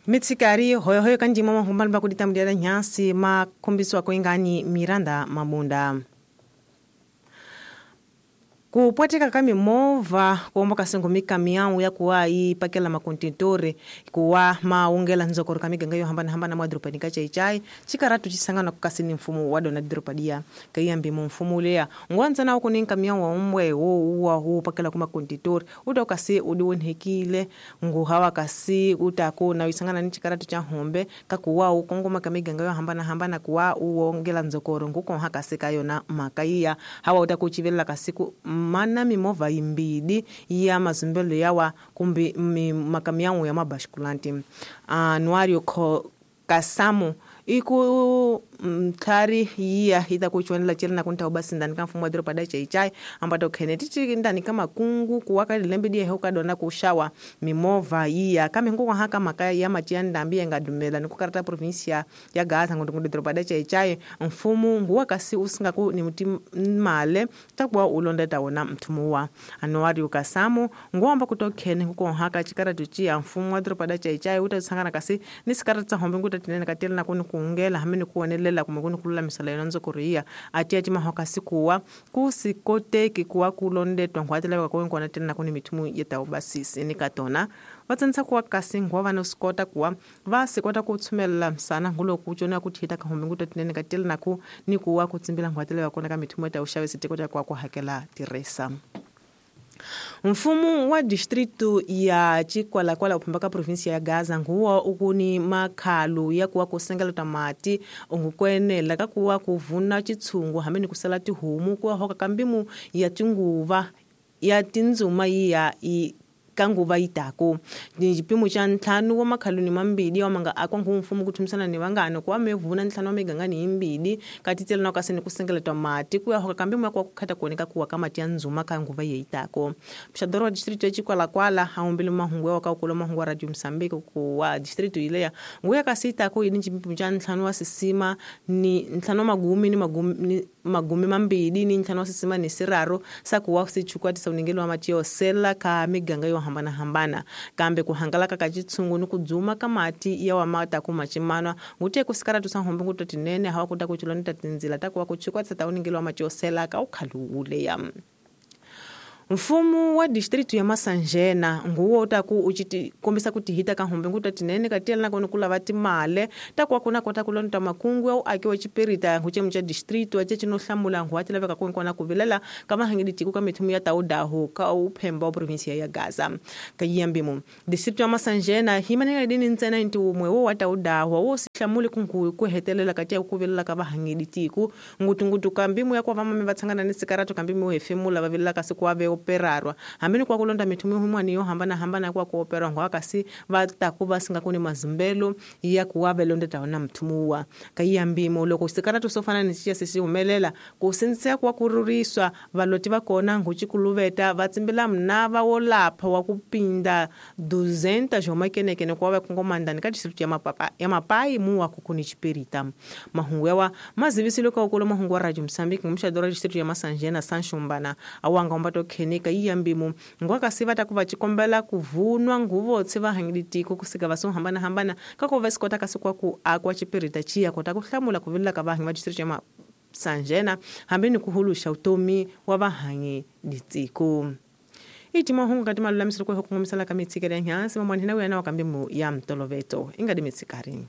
Mitsikari hoyohoyo kanjima mahumbani bakuditambulia nyasi makombiswa koingani Miranda Mabunda. Kupwateka ka mimovha kuomba kasengo mikamiau ya kuwa ipakela makontentore kuwa maungela nzokoro ka miganga yo hambana-hambana mwa dropani ka chaichai chikaratu chisangana kukasini mfumo wa dona dropadia kaiyambi mu mfumo uleya ngwanza uku ni nkamiau wa umbwe wo uwa hu pakela ku makontentore uta ukasi udiwonhekile nguhawa kasi utaku na isangana ni chikaratu cha hombe kakuwa ukongoma ka miganga yo hambana-hambana kuwa uwongela nzokoro ngukonha kasi kayona makaiya hawa utakuchivelela kasiku mana mimovha yimbidi ya mazumbelo yawa kumbi makamiyangu ya mabashukulanti anuario kasamu iku mtlhari yiya ita kuchonela chiri na kunta ubasindani ka mfumo wa doroba da chaichai ambato khene tichi ndani ka makungu kuwaka lilembe diye hukadona kushawa mimovha yiya kame nkuko haka makaya ya matia ndambi yangadumela ni kukarata provincia ya Gaza ngundu doroba da chaichai mfumo nguwa kasi usingaku ni muti male takuwa ulonda tawona mthumuwa anuari ukasamu nguwamba kutokhene nkuko haka chikaratu chiya mfumo wa doroba da chaichai utasangana kasi ni sikarata hombe ngutatinene katela na kuni kuungela hamene kuonelela kumwe kuni kululamisela yona nzokoriya atiya timahoka sikuwa kusikoteki kuwa kulondetwa nkhwatelaveka kuwenkona tena kuni mithumu yetaubasisi nikatona vatsanisa kuwa kasi nkhuwa vana sikota kuwa va sikota ku tshumelela msana nguloku cona kuthita kahombe ngutatinene katela naku ni kuwa kutsimbila nkhwatelaveka kona ka mithumu yetauxavisi tekota kuwa ku hakela tirhisa. Mfumo wa distritu ya Chikwalakwala uphamba ka provinsia ya Gaza nguwa ukuni makhalu ya kuwa kusengela tamati ungukwenela ka kuwa kuvuna chitshungu hamene kusela tihumu kuwa hoka kambimu ya tinguva ya tindzuma ya i kanguva itako ni xipimo xa ntlhanu wa makhaluni mambili wa manga akwa ngu mfumo ku thumisana ni vangano kuwa mevuna ntlhanu wa migangani yimbili katitela na kasi ni ku sengeletwa mati ku ya hoka kambe mwa ku khata kuoneka kuwa ka mati ya ndzuma ka nguva yeitako mxadoro wa district ya Chikwalakwala haumbile mahungu wa ka ukolo mahungu wa Radio Mozambique ku wa district ileya nguya kasi itako yini xipimo xa ntlhanu wa sisima ni ntlhanu wa magumi ni magumi magumi mambili ni ntlhanu wa sisima ni siraro sakuwa sichukwatisa uningelo wa mati yo sela ka miganga yo hambana-hambana kambe ku hangalaka ka chitshungu ni ku dzuma ka mati ya wa mata ku machimanwa ngute ku sikaratu sa hombe nguto tinene hawa kuta ku chiloneta tindzila ta kuwa ku chukwatisa ta uningelo wa mati yo sela ka ukhalu uleya. Mfumo wa distritu ya Masanjena nguwo taku uchiti kombisa kuti hita ka hombe nguta tinene katela na kono kulava timale takuwa kuna kota kulonta makungu au akiwa chipirita nguchemu cha distritu ache chinohlamula nguwa tilaveka kunkona kuvilela kama hangidi tiku ka mithumu ya taudahu ka uphemba wa provinsia ya Gaza kayiyambimo distritu ya Masanjena himaneka dini ntsena inti umwe wo wa taudahu wo sihlamuli kungu kuhetelela katia kuvilela ka vahangidi tiku ngutungutu kambimu ya kwa vamame vatsangana ni sikaratu kambimu hefemula vavilela kasi kuave operarwa hamene kwa kulonda mithumu humwani yo hambana hambana kwa kuoperwa ngwa kasi vataku vasinga kuni mazumbelo ya kuwa velonde taona mthumuwa kayiyambimo loko sikaratu sofana ni chiya sisi humelela kusinzisa kwa kururiswa valoti vakona nguchikuluveta vatsimbila mnava wolapha wa kupinda 200 jomakenekene kwa vakongomandani ka district ya mapapa ya mapai muwa kukuni chipirita mahungu yawa mazivisilo ka ukolo mahungu wa Radio Mozambique ngumshadora district ya Masanjena Sanshumbana awanga umbato khenika iyambimo ngwakasiva takuva chikombela kuvunwa nguvo tsiva hangiditiko kusika vaso hambana hambana kako vasikota kasikwa ku akwa chipirita chiya kota kuhlamula kuvilela ka vahangi va district ya Masanjena hambeni kuhulusha utomi wa vahangi ditiko iti mahungu kati malulamiselo kwe hukungumisala ka mitsikele ya nyansi mamwanhina wena wa kambimu ya mtoloveto ingadi mitsikari.